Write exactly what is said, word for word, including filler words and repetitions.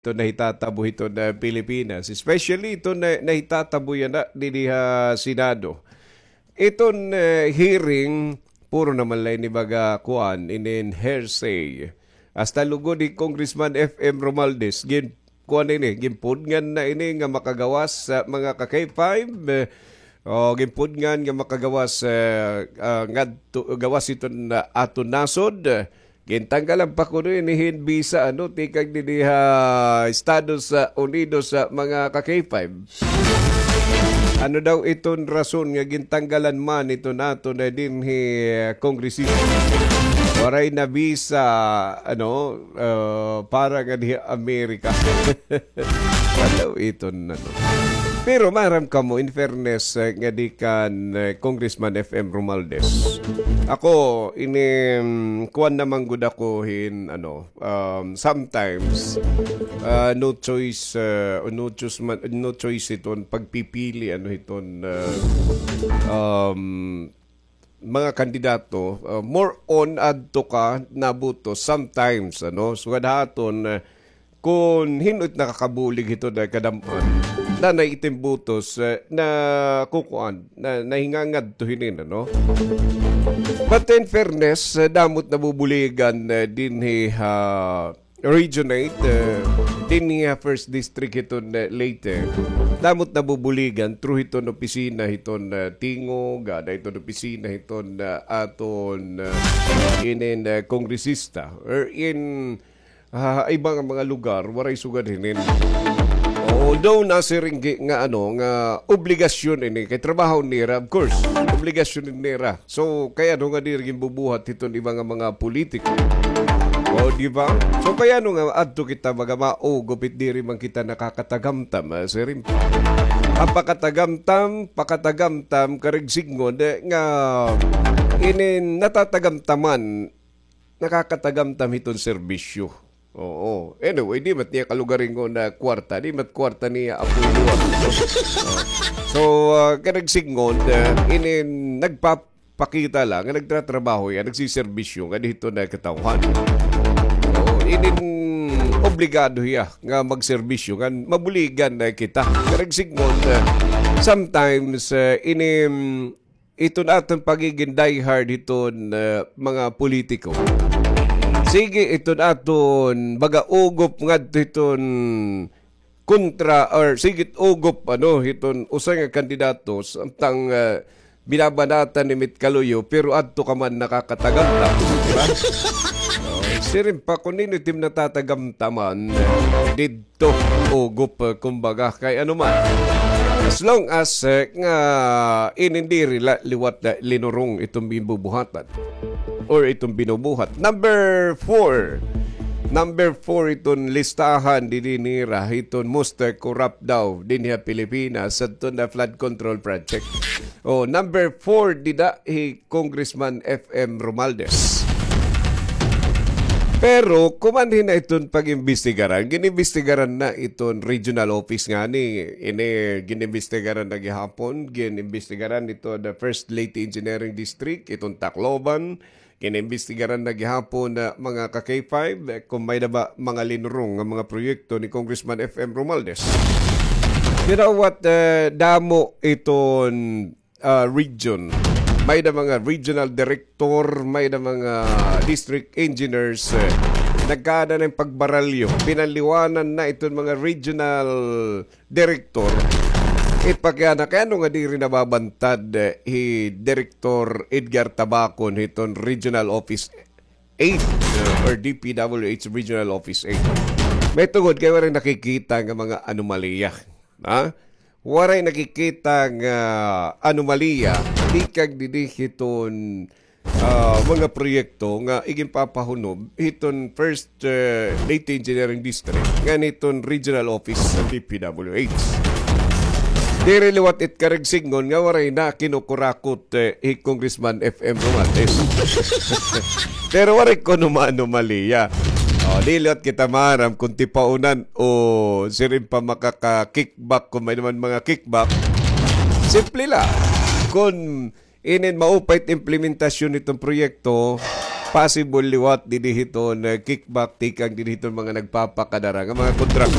iton nahitatabo hiton, ah, Pilipinas, especially iton na-, nahitatabo yana didi ha Senado. Iton, eh, hearing, puro naman la ini baga kuan, inin hearsay. Hasta lugod hi Congressman F M Romualdez, gin-, kuan ini, ginpudngan na ini nga makagawas sa mga ka-K five, eh, o ginpudngan nga makagawas, eh, ah, ngadto, gawas iton, ah, aton nasod. Gintanggalan pa kuno ini hin bisa, ano, tikang didi ha Estados, ah, Unidos sa mga ka-K five. Ano daw iton rason nga gintanggalan man iton aton dinhi, eh, kongresista? Waray na bisa, ano, ah, para nga diha Amerika. Ano iton, ano? Pero maaram kamo, in fairness, eh, nga di kan, eh, Congressman F M Romualdez. Ako, ini, mm, kuan naman gud ako hin, ano, um, sometimes, ah, no choice, ah, no choice man, no choice iton pagpipili, ano, hiton, ah, um, mga kandidato, ah, more on adto ka nabutos sometimes, ano, sugad ha aton, ah, kon hin-o it nakakabulig hiton kadam-an, nanay iton butos, eh, na kukuan, na, nahingangadto hinin, ano? But in fairness, eh, damo it nabubuligan, eh, dinhi ha Region eight, eh, dinhi ha First District hiton, eh, Leyte. Damo it nabubuligan through hiton opisina hiton, eh, tingog, ada hiton opisina hiton, eh, aton, eh, inin, eh, kongresista. Wherein, ah, iba nga mga lugar, waray sugad hinin. Although nasiring gud nga, ano, nga obligasyon ini, kay trabaho nira, of course, obligasyon nira. So, kay ano nga diri ginbubuhat hiton iba nga mga politiko? O, di ba? So, kay ano nga adto kita baga maugop it diri man kita nakakatagamtam, ah, siring pa. Ang pakatagamtam, pakatagamtam, karuyag sidngon, eh, nga inin natatagamtaman, nakakatagamtam hiton serbisyo. Oo. Anyway, di man it iya kalugaringon nga kwarta, di man it kwarta niya apoy luwag. Oh. So, ah, karuyag sidngon, ah, inin nagpapakita la nga nagtatrabaho hiya, nagsiserbisyo ngadi hiton katawhan. Oo, inin obligado hiya nga magserbisyo, ngan mabuligan na kita. Karuyag sidngon, ah, sometimes, ah, inin iton aton pagigin diehard hiton, ah, mga politiko. Sige, iton aton baga ugop ngadto hiton kontra, or sige, ugop, ano, hiton usa nga kandidato, samtang, ah, binabanatan ni Mit Kaluyo, pero adto ka man nakakatagamtam, di ba? Oh, siring pa, kon hin-o it im natatagamtaman, did to ugop, eh, kumbaga, kay ano man. As long as, eh, nga inin diri la liwat na linurong iton ginbubuhatan or iton binubuhat. Number four. Number four iton listahan dinhi nira hiton most, eh, corrupt daw dinhi ha Pilipinas, adto na flood control project. Oh, number four dida hi Congressman F M Romualdez. Pero kumanhi na iton pag-imbestigaran, gin-imbestigaran na iton regional office ngani. Ini gin-imbestigaran na gihapon, gin-imbestigaran iton the First Leyte Engineering District, iton Tacloban, gin-imbestigaran na gihapon na mga ka-K five, eh, kon may-ada ba mga linurong nga mga proyekto ni Congressman F M Romualdez. You know what, eh, damo iton ah, region. May-ada mga regional director, may-ada mga district engineers, eh, nagkaada na hin pagbaralyo. Pinaliwanan na iton mga regional director. Ipakiana, kay ano nga diri nababantad, eh, hi Director Edgar Tabacon hiton Regional Office eight, eh, or D P W H Regional Office eight? Mahitungod kay waray nakikita nga mga anomalya. Ha? Waray nakikita nga anomalya tikang didi hiton, ah, mga proyekto nga iginpapahunob hiton First, eh, Leyte Engineering District ngan hiton regional office sa D P W H. Diri liwat it karuyag sidngon nga waray na kinukurakot, eh, hi Congressman F M Romualdez. Pero waray kuno maanomalya. O, di liwat kita maaram kon tipaunan o siring pa makaka-kickback, kon may-ada man mga kickback. Simple la. Kon inin maupay it implementasyon hiton proyekto, possible liwat dinhi hiton, eh, kickback tikang dinhi hiton mga nagpapakadara nga mga kontraktor.